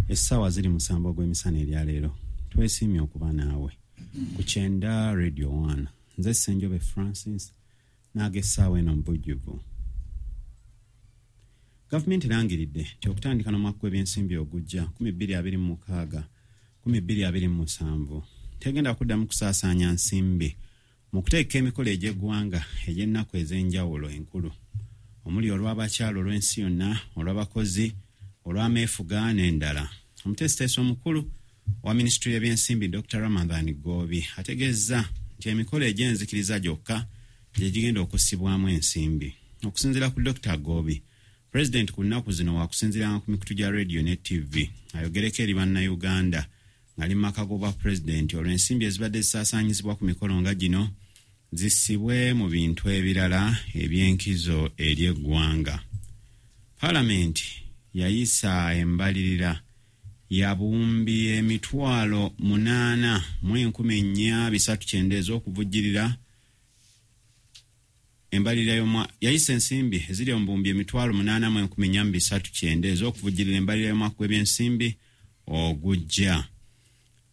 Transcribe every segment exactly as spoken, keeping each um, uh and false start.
Essaawa ziri musanvu ogw'emisana eryaleero. Twesiimye okuba naawe ku Kyenda Radio one. Nze Ssenjobe Francis n'aga essaawa eno mu bujjuvu. Gavumenti erangiridde nti okutandika n'omwaka gw'ebyensimbi ogujja nkumi bbiri abiri mu mukaaga nkumi bbiri abiri mu musanvu tegenda kuddamu kusaasaanya nsimbi mu kuteeka emikolo egy'eggwanga egy'ennaku ez'enjawulo enkulu omuli olw'abakyala, olw'ensi yonna, olw'abakozi, olw'ameefuga n'endala. Omuteesiteesi omukulu wa minisitule y'ebyensimbi Doctor Ramadhan Ggoobi ategeezza nti emikolo egy'enzikiriza gyokka gye gigenda okussibwamu ensimbi. Okusinziira ku Doctor Ggoobi, Pulezidenti ku nnaku zino waakusinziiranga ku mikutu gya rediyo ne T V ayogereko eri Bannayuganda ng'ali mu maka g'obwapulezidenti, olwo ensimbi ezibadde zisaasaanyizibwa ku mikolo nga gino zissibwe mu bintu ebirala eby'enkizo eri eggwanga. Paalamenti yayisa embalirira ya buwumbi emitwalo munaana mu enkumi nnya bisatu kyenda ez'okuvujjirira embalirira y'omwa yayisa ensimbi eziri mu buwumbi emitwalo munaana mu enkumi nnya mu bisatu kyenda ez'okuvujjirira embalirira y'omwaka gw'ebyensimbi ogujja.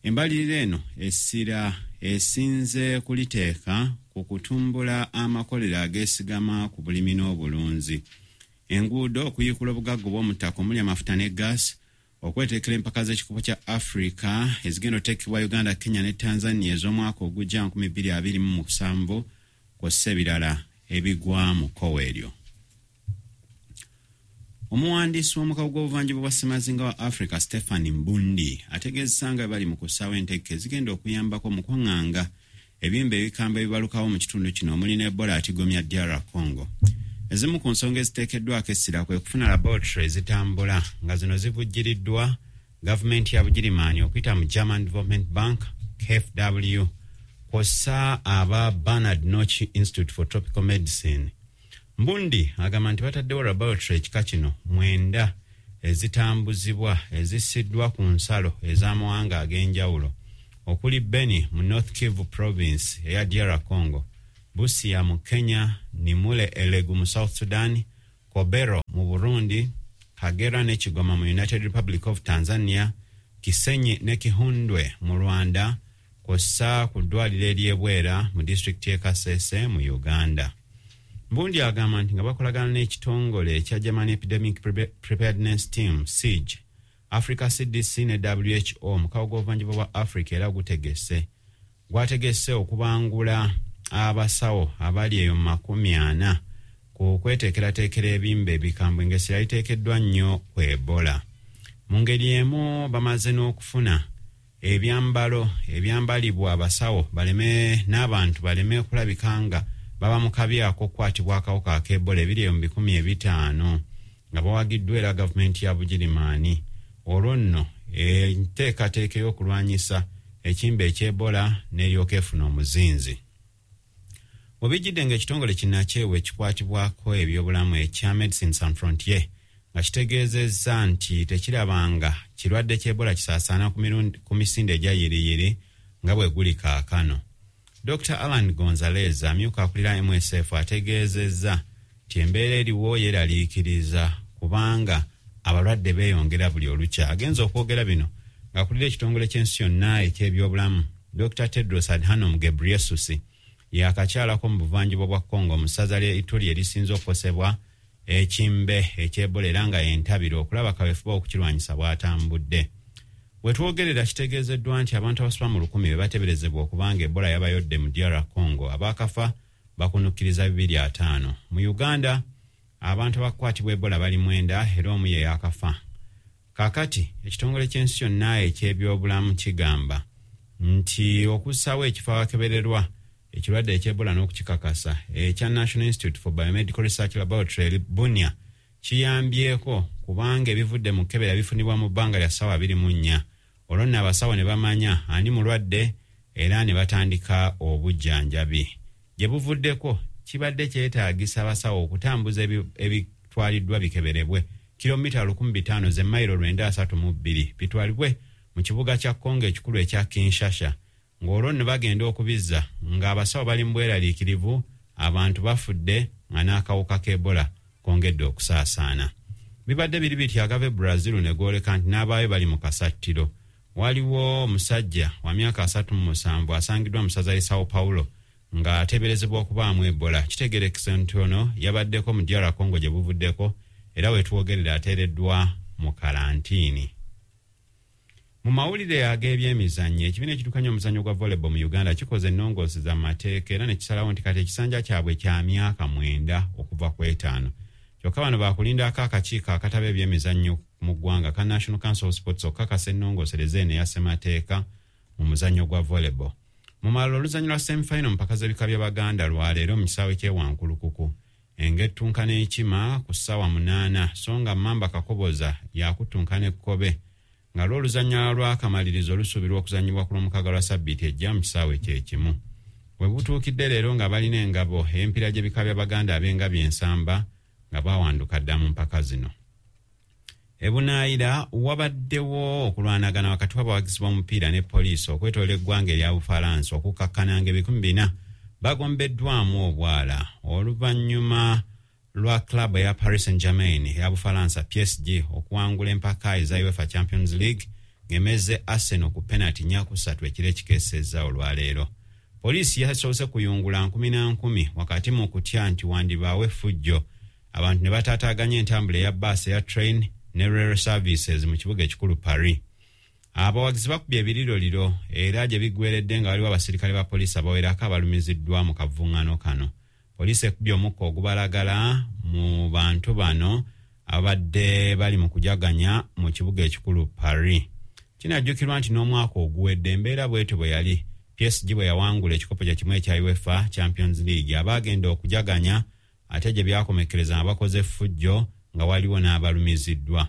Embalirira eno essira esinze kuliteeka ku kutumbula amakolero ageesigama ku bulimi n'obulunzi, enguudo, okuyiikula obugagga obw'omu ttaka omuli amafuta ne gaasi, okweteekera empaka z'ekikopo kya Africa ezigenda oteekebwa Uganda, Kenya ne Tanzania ez'omwaka ogujja nkumi bbiri abiri mu musanvu, kw'ossa ebirala ebigwa mu kkowa eryo. Omuwandiisi w'omukago gw'obuvanjuba bwa ssemazinga wa Africa, Stephen Mbundi, ategeezesa nga bali mu kussaawo entegeka ezigenda okuyambako mu kwaŋŋanga ebimba ebikambwe ebibalukawo mu kitundu kino omuli ne Ebola atigomya D R Congo. Ezimu ku nsonga eziteekeddwako essira kwe kufuna laboratory ezitambula nga zino zivujjiriddwa gavumenti ya Bugirimaani okuyita mu German Development Bank K F W, kw'ossa aba Bernard Nocht Institute for Tropical Medicine. Mbundi agamba nti bataddewo laboratory ekika kino mwenda ezitambuzibwa ezissiddwa ku nsalo ez'amawanga ag'enjawulo okuli Beni mu North Kivu Province eya D R Congo, Busia mu Kenya, Nimule Elegu mu South Sudan, Kobero mu Burundi, Kagera ne Kigoma mu United Republic of Tanzania, Kisenyi ne Gihundwe mu Rwanda, kw'ossa ku ddwaliro ery'ebwera mu disitulikiti y'e Kasese mu Uganda. Mbundi agamba nti nga bakolagana n'ekitongole ekya German Epidemic Preparedness Team SIG, Africa C D C ne W H O, omukago gw'obuvanjuba bwa Africa era gutegese gwategese okubangula abasawo abali eyo mu makumi ana ku kweteekerateekera ebimba ebikambwe ng'essira liteekeddwa nnyo ku Ebola. Mu ngeri emu bamaze n'okufuna ebyambalo ebyambalibwa abasawo baleme n'abantu baleme kulabika nga baba mu kabi ak'okukwatibwa akawuka ak'Ebola ebiri eyo mu bikumi ebitaano nga bawagiddwa era gavumenti ya Bugirimaani. Olwo nno enteekateeka ey'okulwanyisa ekimba eky'Ebola n'eryoka efuna omuzinzi. Bwe ng'ekitongole kinnakyewa ekikwatibwako ebyobulamu ekya Médecins Sans Frontières nga kitegeezezza nti tekirabanga kirwadde ky'Ebola kisaasaana ku misinde egya yiriyiri nga bwe guli kaakano. Doctor Alan Gonzalez, amyuka akulira M S F, ategeezezza nti embeera eriwo yeeraliikiriza kubanga abalwadde beeyongera buli olukya. Agenza okwogera bino ng'akulira ekitongole ky'ensi yonna eky'ebyobulamu Doctor Tedros Adhanom Ghebreyesus yakakyalako mu buvanjuba bwa Congo mu ssaza lya Ituri erisinze okukosebwa ekimbe eky'Ebola era nga yentabiro okulaba kaweefube okukirwanyisa bw'atambudde. Wetwogerera kitegeezeddwa nti abantu abasoba mu lukumi be bateeberezebwa okubanga Ebola yabayodde mu D R Congo, abaakafa bakunukkiriza bibiri ataano. Mu Uganda abantu abakwatibwa Ebola bali mwenda era omu ye yakafa. Kaakati ekitongole ky'ensi yonna eky'ebyobulamu kigamba nti okussaawo ekifo awakebererwa ekirwadde eky'Ebola n'okukikakasa ekya National Institute for Biomedical Research Laboratory Bunia kiyambyeko kubanga ebivudde mu kkebera bifunibwa mu bbanga lya ssaawa abiri mu nnya, olwo nno abasawo ne bamanya ani mulwadde era ne batandika obujjanjabi. Gye buvuddeko kibadde kyetaagisa abasawo okutambuza ebitwaliddwa bikeberebwe kilomita lukumi bitaano ze mayiro lwenda asatu mu bbiri bitwalibwe mu kibuga kya Kongo ekikulu ekya Kinshasa, ng'olwo nno bagenda okubizza ng'abasawo bali mu bweraliikirivu, abantu bafudde nga n'akawuka k'Ebola kongedde okusaasaana. Bibadde biri biti agava e Brazil ne gooleka nti n'abaayo bali mu kasattiro. Waliwo omusajja wa myaka asatu mu musanvu asangiddwa mu ssaza ly'e Sao Paulo ng'ateeberezebwa okubaamu Ebola. Kitegeerekese nti ono yabaddeko mu D R Congo gye buvuddeko, era wetwogerera ateereddwa mu kalantiini. Mu mawulire ag'ebyemizannyo, ekibiina ekiddukanya omuzannyo gwa volleyball mu Uganda kikoze ennongooseza mu mateeka era ne kisalawo nti kati ekisanja kyabwe kya myaka mwenda okuva ku etaano. Kyokka bano baakulindako akakiiko akataba ebyemizannyo mu ggwanga ka National Council of Sports okukakasa ennongoosereza eno eya ssemateeka mu muzannyo gwa volleyball. Mu malala, oluzannya lwa semifinal mu mpaka z'ebika by'Abaganda lwaleero mu kisaawe ky'ewankulukuku, engettunka n'Ekima ku ssaawa munaana, so nga Mamba Kakoboza yakuttunka n'Ekkobe, nga lw'oluzannya lw'akamalirizo olusuubirwa okuzannyibwa ku Lwomukaaga lwa sabbiiti ejja mu kisaawe kyekimu. We butuukidde leero nga balina engabo ey'empiira gy'ebika by'Abaganda ab'engabi ensamba nga bawanduka dda mu mpaka zino. Ebunaayira wabaddewo okulwanagana wakati w'abawagizi b'omupiira ne poliisi okwetoola eggwanga erya Bufalansa, okukkakkana nga ebikumi bina bagombeddwamu obwala oluvannyuma lwa club eya Paris Saint Germain eya Bufalansa, P S G, okuwangula empaka eza UEFA Champions League ng'emeze Arsenal ku penalty nnya ku ssatu ekiro ekikeesezza olwaleero. Poliisi yasoose kuyungula nkumi na nkumi wakati mu kutya nti wandibaawo effujjo, abantu ne bataataaganya entambula eya baasi, eya train ne rail services mu kibuga ekikulu Paris. Abawagizi bakubye ebiriroliro era gye biggweredde nga waliwo abasirikale ba poliisi abawerako abalumiziddwa mu kavuŋŋano kano. Poliisi ekubye omukka ogubalagala mu bantu bano abadde bali mu kujaganya mu kibuga ekikulu Paris. Kinajjukirwa nti n'omwaka oguwedde embeera bwetyo bwe yali, P S G bwe yawangula ekikopo kye kimu ekya UEFA Champions League, abaagenda okujaganya ate gye byakomekkereza nga bakoze effujjo nga waliwo n'abalumiziddwa.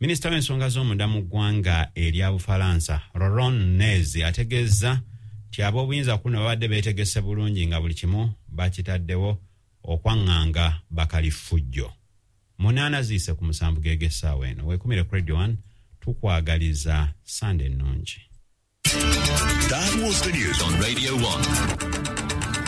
Minisita w'ensonga z'omunda mu ggwanga erya Bufalansa, Laurent Nunez, ategeeza nti ab'obuyinza kuno babadde beetegese bulungi nga buli kimu bakitaddewo okwaŋŋanga bakalifujjo. Munaana ziise ku musanvu geg'essaawa eno. Weekumire ku Radio one, tukwagaliza Sande ennungi. That was the news on Radio one.